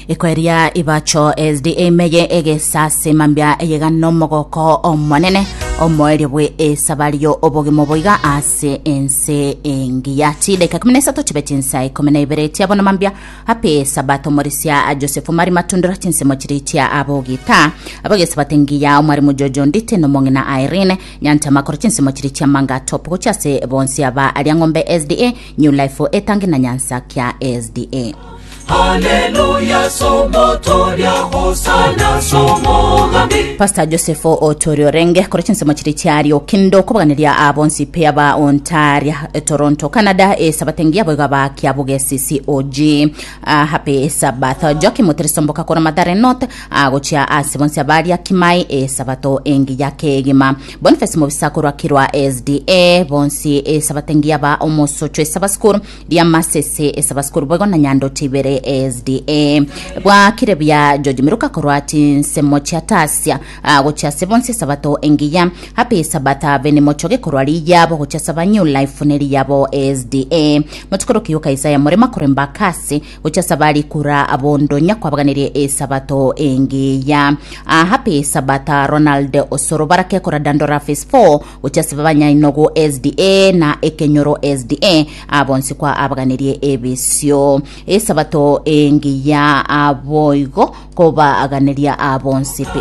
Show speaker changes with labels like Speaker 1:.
Speaker 1: Ekoeria ibacho SDA meye egesase mambia eyega nomogoko omonene omoerio bwe esabario obogima oboiga ase ense engiya chidaika 13 chibe chinsa 12 chiabono mambia Happy Sabato Morisia Joseph Omari Matundura chinsemo chiri chia abogita abagesabato engiya omwarimu Jojo Ndite nomong'ina Irene Nyantama kora chinsemo chiri chia Manga Top gochia ase bonsi aba aria Ng'ombe SDA New Life Etangi na Nyansa kia SDA.
Speaker 2: Haleluya somotoria hosana somogambi
Speaker 1: Pastor Joseph Otori Orenge kora chinsemo chiri chia aria Okindo kobaganiria abonsi pe aba Ontario Toronto Canada esabato engiya boigo aba Kiabugesi COG uh, happy Sabbath Joakim Muterisomboka kora Mathare North uh, gochia ase bonsi abaria Kimai esabato engiya kegima Boniface Mobisa korwa Kirwa SDA bonsi esabato engiya ba omosocho esaba school ria Masese esaba school boigo na Nyando Tibere SDA bwakire buya George Miruka korwa chinsemo chia Tasia uh, gochia ase bonsi esabato engiya Happy Sabata Beni Mochoge korwa riyabo gochia saba New Life ne riyabo SDA Mochikoro kiyoka Isaya Murema korwa Embakasi gochia saba Rikura Abondonya kwabaganirie esabato engiya Ah, Happy Sabata Ronald Osoro Barake korwa Dandora Phase 4 gochia saba Banyainogo SDA na Ekenyoro SDA abonsi kwa abaganirie ebisio esabato engiya aboigo kobaganeria abonsi pi.